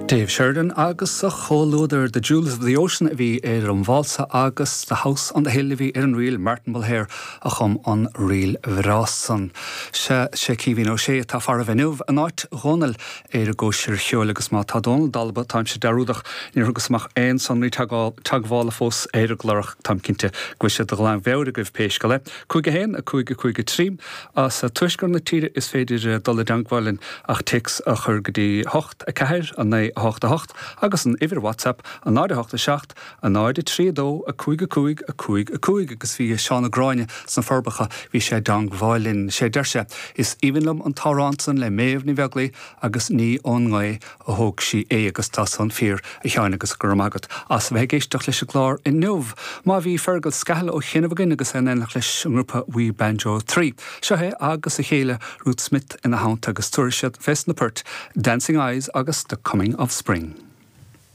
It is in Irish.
Dave Sheridan agus a chomhluadar, The Jewels of the Ocean a bhí ar an válsa agus The House on the Hill a bhí ar an ríl, Martin Mulhare a chum an ríl bhreá san. Sea, sé Caoimhín Ó Sé atá faraibh inniu in áit Dhónaill ar an gcóisir cheoil agus má tá Dónal dalba, táimse dearúdach, níor thugas amach aon sonraí teagmhála fós ar an gclár ach táim cinnte go bhfuil siad de ghlanmheabhair agaibh pé scéal é. 5 1, 5 5 3. As tuaisceart na tíre is féidir dul i dteangmháil linn ach téacs a chur go dtí 8, 4, 9, 8, 8 agus an uimhir WhatsApp, 0, 8, 7, 0, 3, 2, 5 5 5 5 agus bhí Seán Ó Gráinne sna Forbacha, bhí sé i dteangmháil linn. Sé deir sé, Is aoibhinn liom an t-amhrán san le Méabh Ní Bheaglaoi agus ní ón ngaoth a thóg sí é agus tá san fíor, a Sheáin agus go raibh maith agat as a bheith ag éisteacht leis an gclár inniu. Má bhí Fergal Scahill ó chianaibh againn agus é in éineacht leis an ngrúpa We Banjo 3. Seo é agus a chéile Ruth Smith ina theannta agus tabharfaidh siad fés na poirt Dancing Eyes agus The Coming of Spring.